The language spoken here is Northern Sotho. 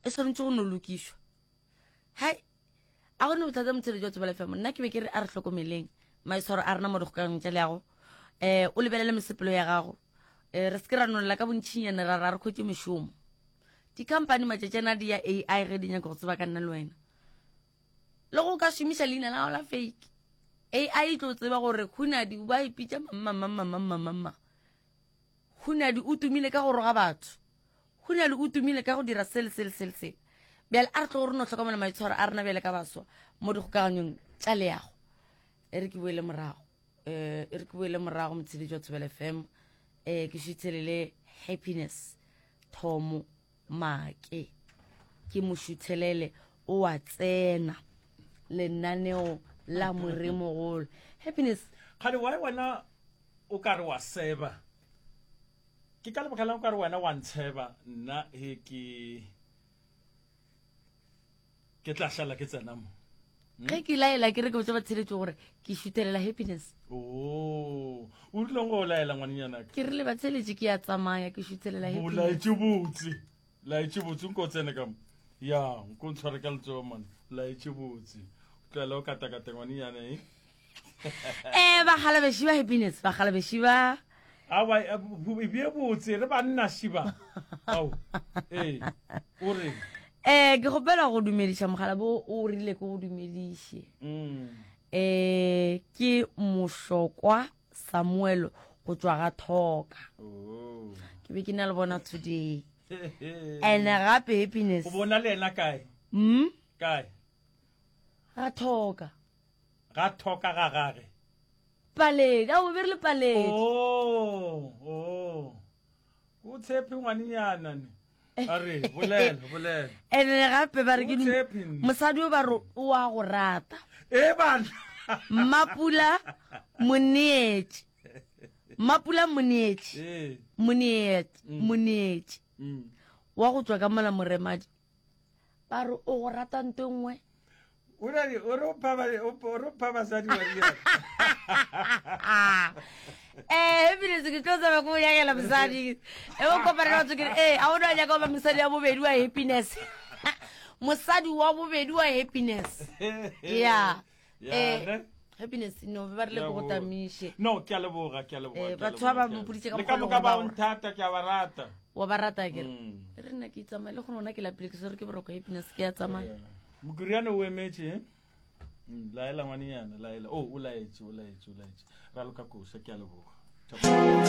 E swanetše go no lokišwa. Hai, a go ne bothata motsheletši wa Thobela FM. Nna ke be ke re a re hlokomeleng maitshwaro a rena mo dikgokaganyong tša leago. Um o lebelele mesepelo ya gago. Um re se ke ra nolela ka bontšinyana ra ra re khwetše mešomo. Di-company matšatšana di ya AI ge di nyaka go tseba ka nna le wena. Le go ka šomiša leina la gago la fake. AI e tlo tseba gore Khunadi ba ipitša mamamamamamamama. Khunadi o tumile ka go roga batho. Khunadi o tumile ka go dira se le se le se le se. Bjale a re tlo re no hlokomela maitshwaro a rena bjale ka baswa mo dikgokaganyong tša leago. E re ke boele morago. Eh, e re ke boele morago motsheletši wa Thobela FM. Eh, ke šuthelele Happiness Thomo Make. Ke mo šuthelele o a tsena lenaneo la Moremogolo. Happiness. Kgale why wena o ka re wa seba? Ke ka lebaka lang o ka re wena wa ntsheba nna he ke ke tla šala ke tsena mo? Hmm? Ge ke laela ke re ke botsa batsheletso gore ke šutelela happiness. Oh, o rile go laela ngwanenyana ka? Ke rile batsheletše ke ya tsamaya ke šutelela happiness. O laetše botse. Laetše botse nko tsene ka mo. Ya, nko ntshware ka letsogo man. Laetše botse. O tlohela o katakata ngwanenyana eh. Eh bagalabeši ba happiness, bagalabeši ba Awa e bie botse re banna šiba. Ao. Eh. O re. Eh ke gopela go dumediša mogala bo o rile ke go dumediše. Mm. Eh ke mohlokwa Samuel go tšwa ga Thoka. Oh. Ke be ke na le bona today. And gape happiness. O bona le yena kae? Mm? Kae? Ga Thoka. Ga Thoka ga gage. Paledi, a o be re le Paledi. Oh, oh. O tshepe ngwanenyana ne. A re, bolela, bolela. Ene gape ba re ke O tshepe nne. mosadi o ba re o a go rata. E bana. Mmapula Moneetši. Mmapula Moneetši. Ee. Moneetši, Moneetši. Mm. Wa go tšwa ka mola Moremadi. Ba re o go rata nto e nngwe. O re o re o pha ba- o o re o pha basadi wa dieta. Eh, ebile se ke tlo tsaba ko nyakela mosadi. E o kopana le batho ke re, eh, a o no nyaka go ba mosadi wa bobedi wa happiness. Mosadi wa bobedi wa happiness. Yeah. Ya, Eh, ne? happiness no ba rile ko go tamiše. No, ke a leboga, ke a leboga. Eh, ke a batho ba leboga, ba ke a mpoditše ka leboga. Le ka mokgwa o moka leng ba gore o ba nthata, ke a ba rata. Wa ba rata ke re. Mm. Re nna ke itsamaya le gone ke lapile ke swere ke boroko happiness ke ya tsamaya. Mokuriane o emetše eh? Mm, laela ngwanenyana laela o o laetše o laetše o laetše raloka koša ke a leboga.